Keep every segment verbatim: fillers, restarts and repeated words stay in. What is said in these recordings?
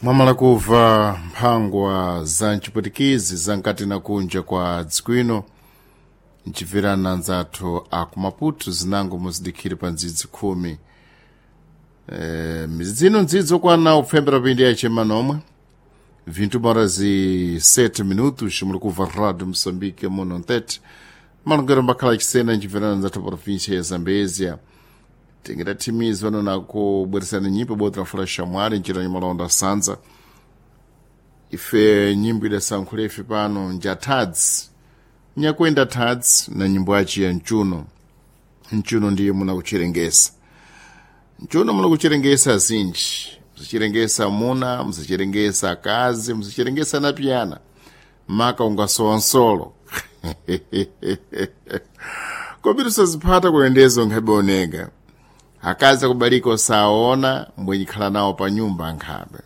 Mwamala kubva mphangwa za mchipwitikizi za nkati na kunja kwa dziko ino nchibverana anzathu aku Maputo zinango muzidikhire pa ndzidzi khumi e, mizidzi ino ndzidzi okwana kupfembera pindi yachema nomwe vintu horas e sete minutos muli kubva rádio Moçambique muno ntete malongero mbakhala achisena nchibverana anzathu província ya Zambezia tingidathimiza pano nakubweresana nyimbo bota fula shamwali njira nyamalonda sanza ife nyimbo idasankhula ife pano njatadzi nyakwenda tadzi na nyimbo yaci ya mchuno mchuno ndiye munakucherengesa mchuno munakucherengesa zinji mzicherengesa muna mzicherengesa akazi mzicherengesa na piyana maka ungasowa nsolo kobiri soziphata kuyendezo nkhabe oneka akazi akubalika osaona mbwenyikhala nawo pa nyumba ankhabe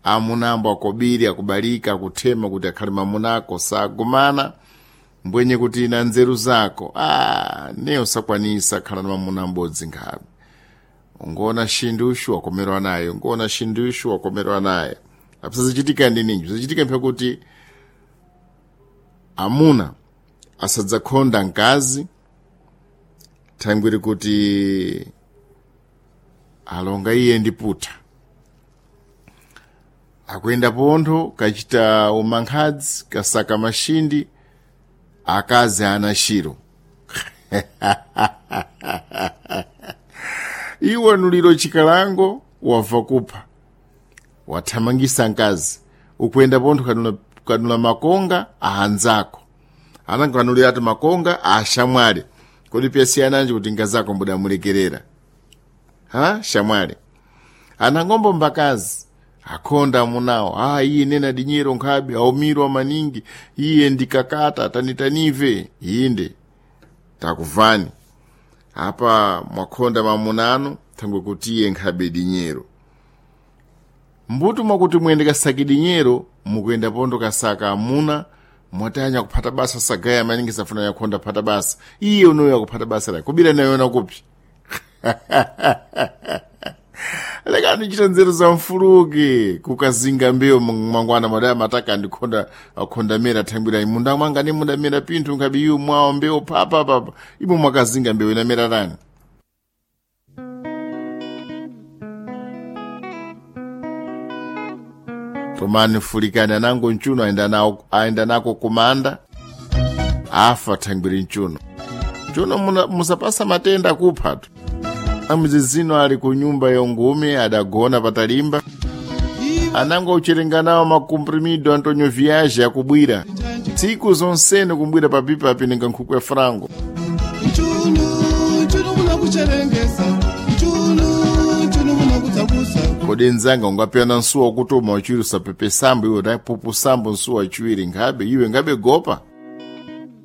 amuna ambo akobiri akubalika akuthema kuti akhale mamunako sagumana mbwenye kuti na nzeru zako ah, ne usakwanisa khala na mamuna ambodzi nkhabe ungoona shindushu wakomerwa naye ungoona shindushu wakomerwa naye apisazichitika ndi ninji zichitika mphe kuti amuna asadzakhonda mkazi thangwiri kuti alonga iye ndi puta akuyenda pontho kachita umankhadzi kasaka mashindi akazi ana shiro iwe nuliro chikalango wabva kupha wathamangisa mkazi ukuyenda pontho kanula, kanula makonga ahanzako ananganulira ati makonga ashamwali kodi piyasiyananji kuti ngazako mbudamulekerera ha shamwali anangombo mbakazi akhonda amunawo ah iye nena dinyero nkhabe aumirwa maningi iye ndikakata tanitanive inde takuvani apa mwakhonda mamunano thangwe kuti iye nkhabe dinyero mbuto mwakuti muyende kasaki dinyero mukuyenda pondo kasaka amuna mwatanya kuphata basa sagaya maningi safuna yakhonda phata basa iye unoyo akuphata basa lake kubira nayona kupi lekani chita nzeru za mfuluki kukazinga mbewu mangwana madaya mataka ndikhonda akhonda mera thangwira munda mwanga ni munda mera pinthu nkhabe iwo mwawo mbewu papa papa ipo mwakazinga mbewu inamera tani tomani fulikani anango mchuno aenda nawo aenda nako kumanda afa thangwiri mchuno mchuno musapasa matenda kuphatu amuzizino ali ku nyumba yongume adagona patalimba anango ucherenga nawo makomprimido antonio viage akubwira tsiku zonsene kumbwira papipa apininga nkhuku ya frango Mchunu, mchunu munakucherengesa mchunu, mchunu munakutsakusa kodi nzanga ungapiyana nsuwa kutuma uchiwiri usapepe sambo iwe tapupu sambo nsuwa achiwiri nkhabe iwe ngabe gopa